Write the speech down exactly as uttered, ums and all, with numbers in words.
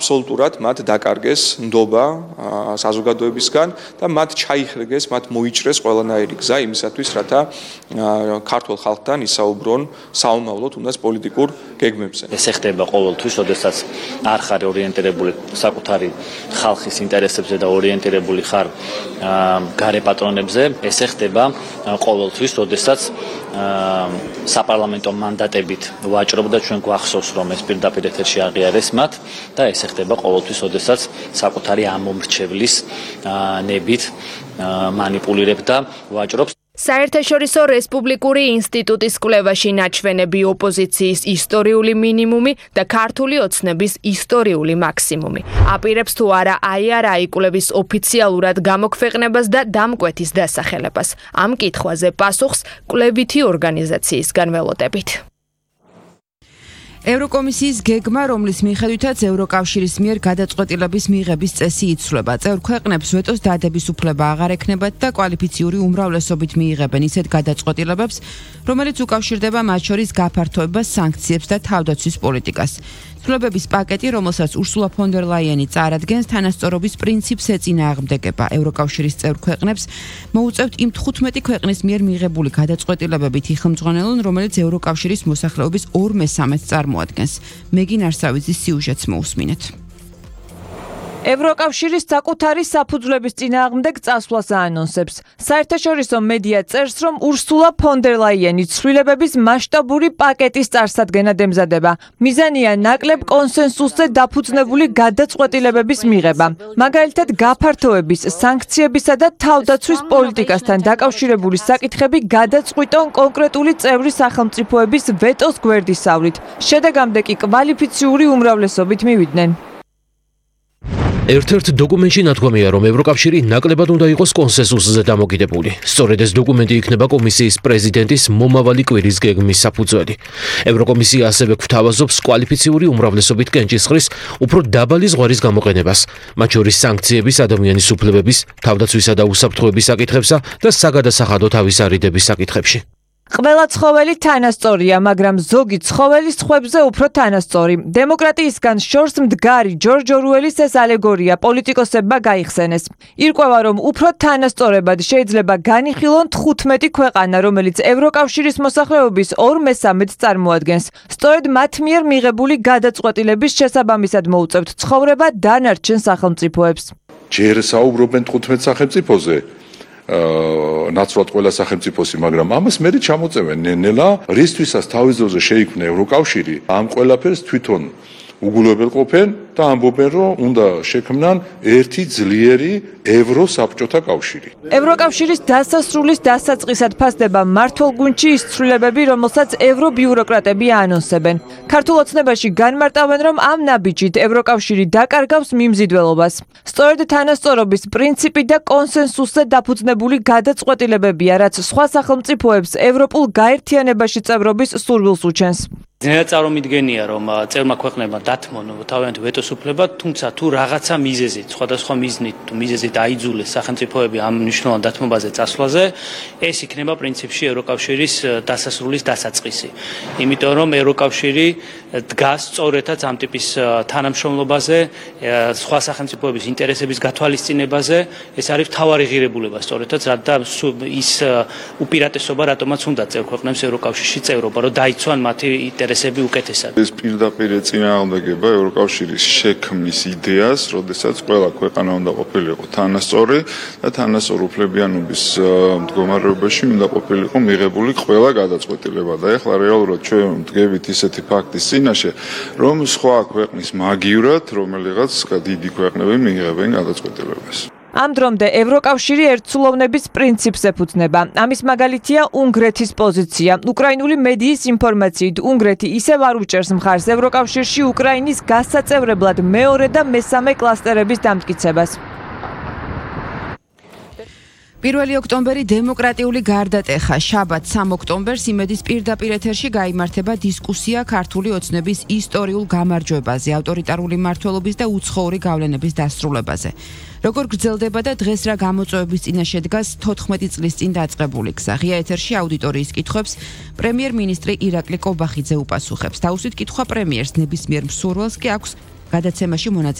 აბსოლუტურად მათ დაკარგეს ნდობა საზოგადოებისგან და მათ ჩაიხრეგეს, მათ მოიჭრეს ყველანაირი გზა იმისათვის, რათა ქართულ ხალხთან ისაუბრონ საომავლო თუნდაც პოლიტიკურ გეგმებზე. ეს ეხება ყოველთვის, როდესაც არ ხარ ორიენტირებული საკუთარი ხალხის ინტერესებზე და ორიენტირებული ხარ გარე პატრონებზე, ეს ეხება ყოველთვის, როდესაც საპარლამენტო მანდატებით ვაჭრობ და ჩვენ გვახსოვს, რომ ეს პირდაპირ ეთერში აღიარეს მათ და ეს ხდება ყოველთვის, როდესაც საკუთარი ამომრჩევლის ნებით მანიპულირებ და ვაჭრობს. საერთაშორისო რესპუბლიკური ინსტიტუტის კვლევაში ნაჩვენები ოპოზიციის ისტორიული მინიმუმი და ქართული ოცნების ისტორიული მაქსიმუმი. აპირებს თუ არა აიარაი კვლევის ოფიციალურად გამოქვეყნებას და დამკვეთის დასახელებას. ამ კითხვაზე პასუხს კვლევითი ორგანიზაციისგან ველოდებით. ევროკომისიის გეგმა, რომლის მიხედვითაც ევროკავშირის მიერ გადაწყვეტილების მიღების წესი იცვლება. წევრ ქვეყნებს ვეტოს დადების უფლება აღარ ექნებათ და კვალიფიციური უმრავლესობით მიიღებენ ისეთ გადაწყვეტილებებს, რომელიც უკავშირდება მათ შორის გაფართოებას, სანქციებს და თავდაცვის პოლიტიკას. ცვლილებების პაკეტი, რომელსაც ურსულა ფონ დერ ლაიენი წარადგენს, თანასწორობის პრინციპს ეწინააღმდეგება. ევროკავშირის წევრ ქვეყნებს მოუწევთ იმ თხუთმეტი ქვეყნის მიერ მიღებული გადაწყვეტილებებით იხელმძღვანელონ, რომელიც ევროკავშირის მოსახლეობის ორ მესამედს წარმოადგენს. მეგინ არსავიძის სიუჟეტს მოусმინეთ. ევროკავშირის საკუთარი საფუძვლების წინააღმდეგ წასვლას აანონსებს. საერთაშორისო მედია წერს, რომ ურსულა ფონ დერ ლაიენი ცვლილებების მასშტაბური პაკეტის წარსადგენად ემზადება. მიზანია ნაკლებ კონსენსუსზე დაფუძნებული გადაწყვეტილებების მიღება. მაგალითად, გაფართოების, სანქციებისა და თავდაცვის პოლიტიკასთან დაკავშირებული საკითხები გადაწყვიტონ კონკრეტული წევრი სახელმწიფოების ვეტოს გვერდისავლით. შედეგამდე კი კვალიფიციური უმრავლესობით მივიდნენ. ერთ-ერთ დოკუმენტში ნათქვამია, რომ ევროკავშირი ნაკლებად უნდა იყოს კონსენსუსზე დამოკიდებული. სწორედ ეს დოკუმენტი იქნება კომისიის პრეზიდენტის მომავალი კვირის გეგმის საფუძველი. ევროკომისია ასევე გვთავაზობს კვალიფიციური უმრავლესობით კენჭისყრის უფრო დაბალი ზღვარის გამოყენებას, მათ შორის სანქციების, ადამიანის უფლებების, თავდაცვისა და უსაფრთხოების საკითხებსა და საგადასახადო თავისარიდების საკითხებში. ყველა ცხოველი თანასწორია, მაგრამ ზოგი ცხოველი სხვებზე უფრო თანასწორი. დემოკრატიისგან შორს მდგარი ჯორჯ ორუელის ეს ალეგორია პოლიტიკოსებმა გაიხსენეს. ირკვევა, რომ უფრო თანასწორებად შეიძლება განიხილონ თხუთმეტი ქვეყანა, რომელიც ევროკავშირის მოსახლეობის ორ მესამედს წარმოადგენს. სწორედ მათ მიერ მიღებული გადაწყვეტილების შესაბამისად მოუწევთ ცხოვრება დანარჩენ სახელმწიფოებს. ჯერ საუბრობენ თხუთმეტ სახელმწიფოზე. ნაცვლად ყველა სახელმწიფოსი, მაგრამ ამას მე ჩამოწევენ ნელა, რისთვისაც თავის დროზე შეიქმნა ევროკავშირი, ამ ყველაფერს თვითონ უგულებელყოფენ და ამბობენ, რომ უნდა შექმნან ერთი ძლიერი ევროსაბჭოთა კავშირი. ევროკავშირის დასასრულის დასაწყისად ფასდება მართლგუნდში ის ცვლილებები, რომელსაც ევრობიუროკრატები აანონსებენ. ქართულ ოცნებაში განმარტავენ, რომ ამ ნაბიჯით ევროკავშირი დაკარგავს მიმზიდველობას. სწორედ თანასწორობის პრინციპი და კონსენსუსზე დაფუძნებული გადაწყვეტილებებია, რაც სხვა სახელმწიფოებს ევროპულ გაერთიანებაში წევრობის სურვილს უჩენს. ძნელად წარმომიდგენია, რომ წევრმა ქვეყნებმა დათმონ თავიანთი ვეტოს უფლება, თუმცა თუ რაღაცა მიზეზით, სხვადასხვა მიზნით თუ მიზეზით აიძულეს სახელმწიფოები ამ მნიშვნელოვან დათმობაზე წასვლაზე, ეს იქნება პრინციპში ევროკავშირის დასასრულის დასაწყისი. იმიტომ რომ ევროკავშირი დგას სწორედაც ამ ტიპის თანამშრომლობაზე, სხვა სახელმწიფოების ინტერესების გათვალისწინებაზე, ეს არის მთავარი ღირებულება სწორედაც, რადგან ის უპირატესობა რატომაც უნდა წევრ ქვეყნებს ევროკავშირში წევრობა, რომ დაიცვან მათი ინტერესები უკეთესად. ეს პირდაპირ წინააღმდეგება ევროკავშირის შექმნის იდეას, როდესაც ყველა ქვეყანა უნდა ყოფილიყო თანასწორი და თანასწორ უფლებიანობის მდგომარეობაში უნდა ყოფილიყო მიღებული ყველა გადაწყვეტილება. და ეხლა რეალურად ჩვენ ვდგებით ისეთი ფაქტის წინაშე, რომ სხვა ქვეყნის მაგივრად რომელიღაც დიდი ქვეყნები მიიღებენ გადაწყვეტილებას. ამ დრომდე ევროკავშირი ერთსულოვნების პრინციპს ეფუძნება. ამის მაგალითია უნგრეთის პოზიცია. უკრაინული მედიის ინფორმაციით, უნგრეთი ისევ არ უჭერს მხარს ევროკავშირში უკრაინის გასაწევრებლად მეორე და მესამე კლასტერების დამტკიცებას. პირველი ოქტომბერი დემოკრატიული გარდატეხა. შაბათ სამ ოქტომბერს იმედის პირდაპირ ეთერში გაიმართება დისკუსია ქართული ოცნების ისტორიულ გამარჯვებაზე, ავტორიტარული მმართველობის და უცხოური გავლენების დასრულებაზე. როგორ გრძელდება და დღეს რა გამოწვევების წინაშე დგას თოთხმეტი წლის წინ დაწყებული გზა. ღია ეთერში აუდიტორიის კითხვებს პრემიერ-მინისტრი ირაკლი კობახიძე უპასუხებს. თავისით კითხვა პრემიერს, ნებისმიერ მსურველს კი აქვს გადაცემაში მონაწილე